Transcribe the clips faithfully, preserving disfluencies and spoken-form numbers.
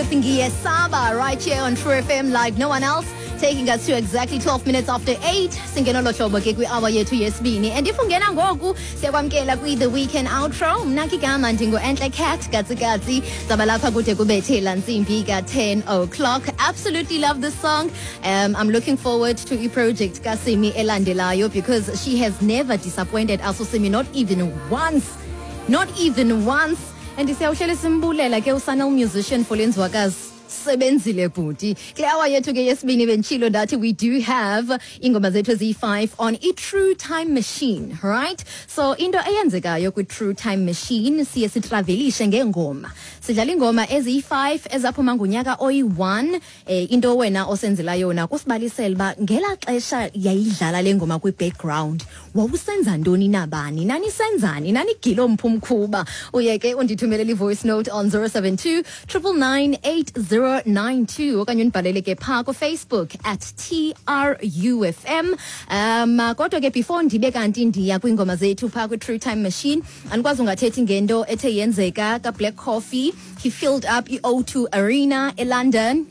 with Ngiyesaba right here on True F M like no one else, taking us to exactly twelve minutes after eight. Singena lohlobo ke kwi-hour yethu yesibini. And if ungena ngoku, siyakwamkela kwi-The Weekend Outro. Mna ke igama ndingu-Entle Cat Katsikatsi. Zaba lapha kude kubethe laa ntsimbi ka-ten o'clock. Absolutely love this song. Um, I'm looking forward to i-project kaSimi elandelayo because she has never disappointed us, uSimi, not even once. Not even once. And siyawuhlele simbulela ke usanel musician for lenzwakazi sebenzile bhuti. Kule hour yethu ke yesibini, benditshilo ndathi we do have iingoma zethu eziyi-five on i-True Time Machine, right? So into eyenzekayo kwi-True Time Machine, siye sitravelishe ngeengoma, sidlala iingoma eziyi-five ezaphuma ngonyaka oyi-one. eh, into wena osenzela yona kusibalisela uba ngelaa xesha yayidlala le ngoma kwi-background wawusenza ntoni, nabani, nanisenzani, nanigilo mphumkhuba. Uye ke undithumelele i-voice note on zero seven two nine nine nine eight zero nine two okanye undibhalele ke phaa kuFacebook at T R U F M. um kodwa ke before ndibe kanti ndiya kwiingoma zethu phaa kwi-True Time Machine, andikwazi ungathethi ngento ethe yenzeka kaBlack Coffee. He filled up i-O two Arena eLondon,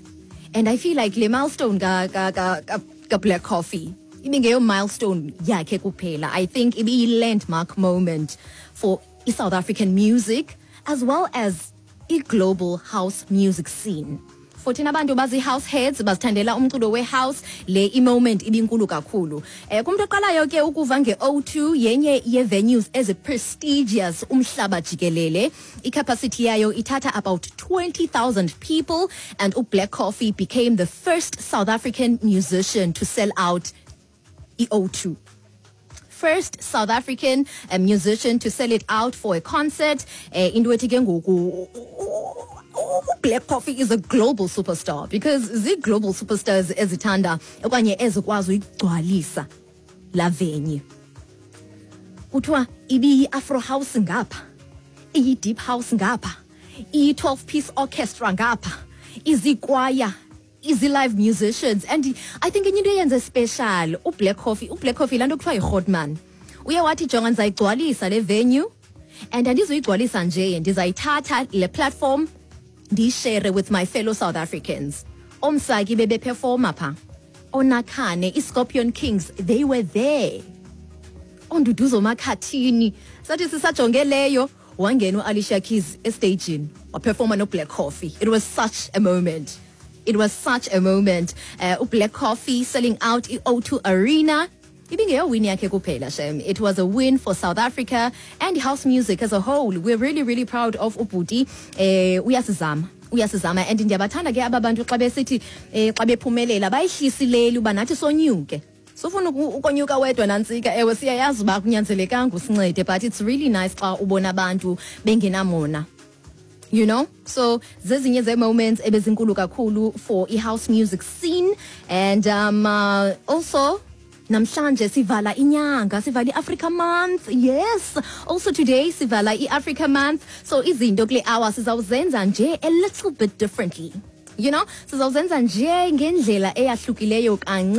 and I feel like le milestone ka, ka, ka, ka, ka Black Coffee ibingeyo milestone yakhe kuphela. I think ibiyi-landmark moment for i-South African music as well as i-global house music scene. For thina abantu bazi-house heads, bazithandela umculo we-house, le i-moment ibinkulu kakhulu. um kumntu oqalayo ke ukuva nge-O two, yenye ye-venues ezi-prestigious umhlaba jikelele. I-capacity yayo ithatha about twenty thousand people, and uBlack Coffee became the first South African musician to sell out i-O two, first South African uh, musician to sell it out for a concert. uh, into ethi ke ngoku Black Coffee is a global superstar, because zii-global superstars ezithanda okanye ezikwazi uyigcwalisa la venue. Kuthiwa ibiyi-afro house ngapha, iyi-deep house ngapha, iyi-twelve piece orchestra ngapha, izikwaya, izi-live musicians. And I think enye into eyenze special uBlack Coffee, uBlack Coffee laa nto kuthiwa yi-hotman, uye wathi, "Jonga, ndizayigcwalisa le venue, and andizuyigcwalisa nje, ndizayithatha le platform ndiyishere with my fellow South Africans." Omsaki bebeperforma pha, onakhane, i-Scorpion Kings, they were there, oNduduzo Makhathini. Sathi sisajonge leyo, wangena u-Alicia Keys estagini, waperforma noBlack Coffee. It was such a moment, it was such a moment. uh, uBlack Coffee selling out i-O two Arena ibingeyo win yakhe kuphela shem, it was a win for South Africa and house music as a whole. We're really, really proud of ubhuti. eh uyasizama uyasizama, and ndiyabathanda ke aba bantu xa besithi eh xa bephumelela bayihlisileli uba nathi sonyuke. Sufuna uku- ukonyuka wedwa nantsika. Ewe, siyayazi uba kunyanzelekanga usincede, but it's really nice xa ubona abantu bengenamona you know So zezinye ze-moments ebezinkulu kakhulu for i-house music scene. And um, uh, also namhlanje sivala inyanga, sivala i-Africa Month. Yes, also today sivala i-Africa Month. So izinto kule hour sizawuzenza nje a little bit differently you know Sizawuzenza nje ngendlela eyahlukileyo kancinci.